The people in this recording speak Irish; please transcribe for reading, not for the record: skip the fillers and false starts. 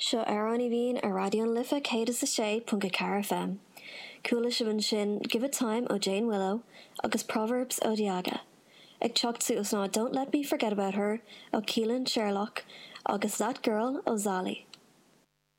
Seo Amhrán Aoibhinn ar Raidió na Life 106.4 FM. Chuala sibh ansin Give It Time ó Jane Willow agus Proverbs ó Diaga. Ag teacht suas ná Don't Let Me Forget About Her ó Keelan Sherlock agus That Girl ó Zali.